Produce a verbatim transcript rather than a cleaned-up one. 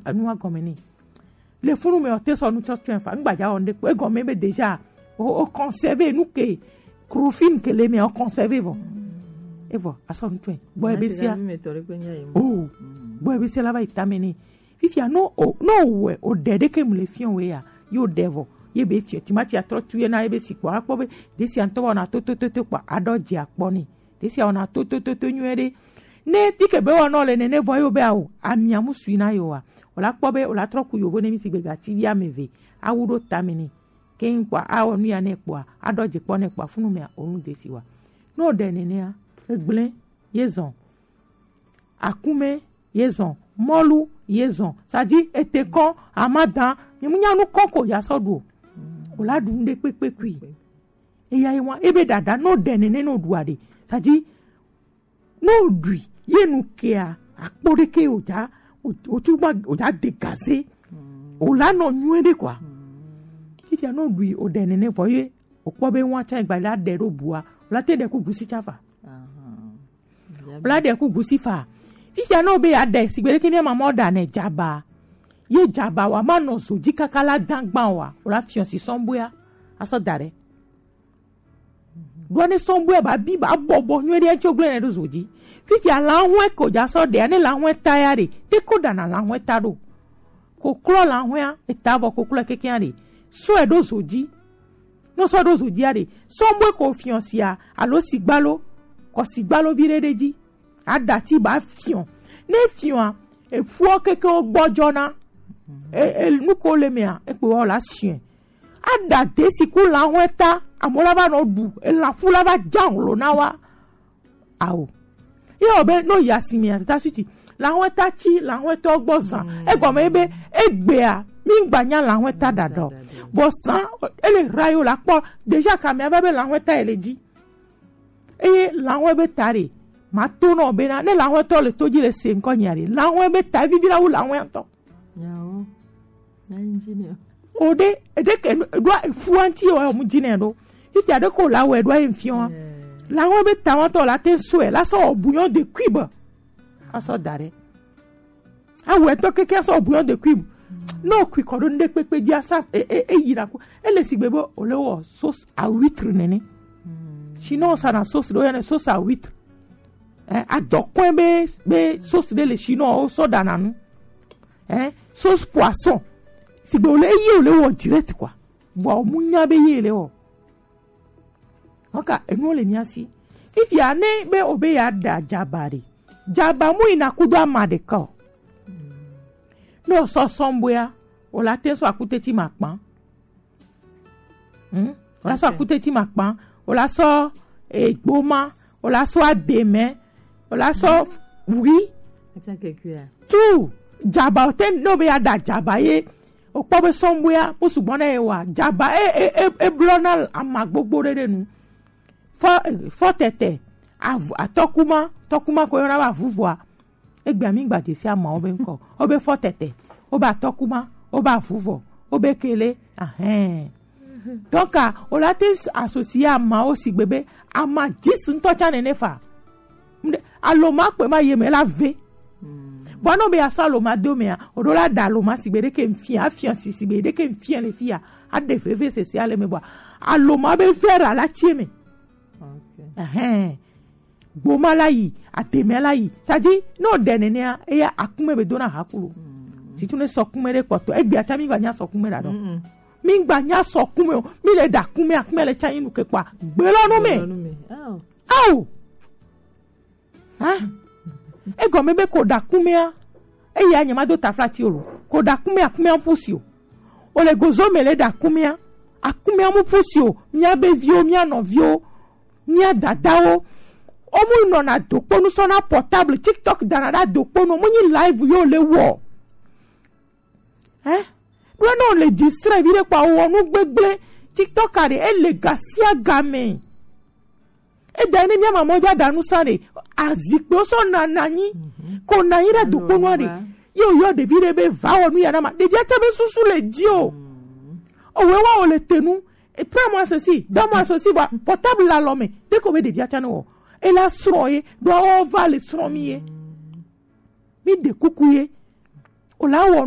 Enu wa gɔme ne. Le funu me o te sɔ nu tsɔ tsɔe fa. Ngbaja o nde kpo. Egɔme be déjà. O, o conserver nu ke. Krofin ke le me o conserver vɔ. Evɔ, a sɔ nu tsɔe. Bɔ ebe sia. Oh. Bɔ ebe sia la va yi tame ne. Fifia no o, no we o de de ke mu le fiɔ we ya. Yo de vɔ. Ye be fiɔ. Timati a trɔ tu ye na ye be si kpɔ. A kpɔ be. De sia ntɔ wa na to to to to kpɔ. A dɔ dzi a kpɔ ne. Te sia wɔna to to to to nyuie ɖe. Ne fi ke be wɔna le nene vɔ yo be awo amia mu sui na yo wa. Wòla kpɔ be wòla trɔ ku yovo ne mi si gbega ti vi ame ve. Awu ɖo tame ne. Keŋ kpɔa awɔ nu ya ne kpɔa aɖɔ dze kpɔ ne kpɔa funu mea onu de si wa. Ne wòɖe nenea, egblẽ ye zɔn. Akume ye zɔn. Mɔlu ye zɔn. Sadi ete kɔ amadan. Mi mu nya nu kɔ ko ya sɔ ɖu o. Wòla ɖu nu ɖe kpekpe kui. Eya ye wa ebe ɖaɖa no ɖe nene no ɖua ɖe. Sadi no ɖui ye nu kea akpɔ ɖeke o ja o tu ma o ja de gaze. O la nɔ nyuie ɖe kɔa. Fifia no ɖui o ɖe nene vɔ ye o kpɔ be wa tsa gba la ɖe ɖo bua o la te ɖe ku gusi tsa fa. O la ɖe ku gusi fa. Fifia no be ya ɖe sigbe ɖeke ne ma mɔ ɖa ne dzaba. Ye dzaba wa ma nɔ zo dzi kaka la dangban wa o la fiɔ si sɔn boya. Asɔ da ɖe. Ɖoa ne sɔn boe ba bi ba bɔbɔ nyuie ɖe tso gblẽ ne ɖo zo dzi. Fifia lahwe ko dza sɔ ɖea ne lahwe ta ya ɖe. Te ko ɖana lahwe ta ɖo. Koklɔ lahwea eta vɔ koklɔ kekea ɖe. Sɔe ɖo zo dzi. No sɔ ɖo zo dzia ɖe. Sɔn boe ko fiɔ sia alo sigbalo. Kɔ sigbalo vi ɖe ɖe dzi. Aɖati ba fiɔ. Ne fiɔa eƒuɔ keke wo gbɔdzɔna. E, e, nu ko le mea ekpe wa la siɔe. Aɖa de si ku lahwe ta amewo la va nɔ ɖu elã ƒu la va dza ŋlo na wa. Ao. Ye wɔ be no yi asime ya tata suti lahwe ta tsi lahwe tɔ gbɔ zã. Egɔme ye be egbea mi ŋgba nya lahwe ta ɖaɖa o. Vɔ zã ele rayo la kpɔ déjà kamea va be lahwe ta ele dzi. Eye lahwe be ta ɖe ma to nɔ bena ne lahwe tɔ le to dzi le se ŋkɔ nyia ɖe lahwe be ta vivi la wu lahwe ŋutɔ. Yawo. Na engineer. O ɖe eɖe ke ɖo eƒua ŋuti wa mu dzi nɛ ɖo. Fifia ɖe ko la wɛ ɖo ayi fiɔ. Lahwe be ta ŋutɔ la te sɔe la sɔ buyon de kui be. Asɔ da ɖe. Awɛ tɔ keke sɔ buyon de kui. No kui kɔ ɖo ŋɖe kpekpe dzi asa e e e yi na ku. Ele sigbe be o le wɔ sauce à huître nene. Sinon sa na sauce ɖo ya ne sauce à huître. Eh, adɔkɔe be be sauce ɖe le sinon o sɔ ɖana nu. Eh, sauce poisson. Sigbe o le eye o le wɔ direct quoi. Vɔ o mu nya be ye le wɔ. Oka enuwo le mia si. Fifia ne be o be ya ɖa dzaba ɖe. Dzaba mu yina kudo ama ɖeka o. Ne o sɔ sɔn boya o la te sɔ akute ti ma kpan. Hmm? O la sɔ akute ti ma kpan. O la sɔ egboma. O la sɔ ademe. O la sɔ wi. Tu dzaba o te ne o be ya ɖa dzaba ye. O kpɔ be sɔn boya o sugbɔ na ye wa dzaba e e e e blɔ na ama gbogbo ɖe ɖe nu. Fɔ fɔ tɛtɛ avu atɔkuma tɔkuma ko yɔna be avuvɔa. Egbea mi gba dzesi amawo be ŋkɔ. O be fɔ tɛtɛ, o be atɔkuma, o be avuvɔ, o be kele, ahɛn. Donc o la te associer amawo sigbe be ama dix ŋutɔ tsa nene fa. Aloma kpe ma ye me la ve. Vɔ no be asɔ aloma do mea, o ɖo la da aloma sigbe ɖeke ŋfia, afia si sigbe ɖeke ŋfia le fia, aɖe veve sese ale me bɔ. Aloma be vera la tie me. Ahɛn. Gboma la yi, ademe la yi. Sadi no ɖe nenea eya akume be dona hakulo. Situ ne sɔkume ɖe kpɔtɔ egbe ata mi gba nya sɔkume ɖa ɖo. Mi gba nya sɔkume o. Mi le ɖa kume akume le tsa yi nu ke kpa gbelɔ no me. Ao. Ha? Egɔme be ko ɖa kumea. Eya nye ma do tafla ti o lo. Ko ɖa kumea kumea pusi o. O le gozo me le ɖa kumea. Akumea mu pusi o. Mia be viwo, mia nɔviwo, mia dadawo. O mu nɔna dokponu sɔna portable TikTok dana ɖa dokponu. O mu nyi live yo le wɔ. Eh? Ɖo ne o le distraire vi ɖe kpɔ awɔ nu gbegble. TikTok a ɖe ele gasia game. Eda ne mia mamɔ ja ɖa nu sa ɖe azikpewo sɔ na nanyi ko nanyi ɖe dokponua ɖe. Ye o yɔ ɖevi ɖe be va wɔ nu ya na ma ɖevia tsa be susu le dzi o. Owe wa o le te nu. Prends-moi ceci, donne-moi ceci, va portable la lɔ me. Dès que o be ɖevia tsa ne wɔ ela srɔ̃ ye ɖo awɔ va le srɔ̃ mi ye. Mi ɖe kuku ye. O la wɔ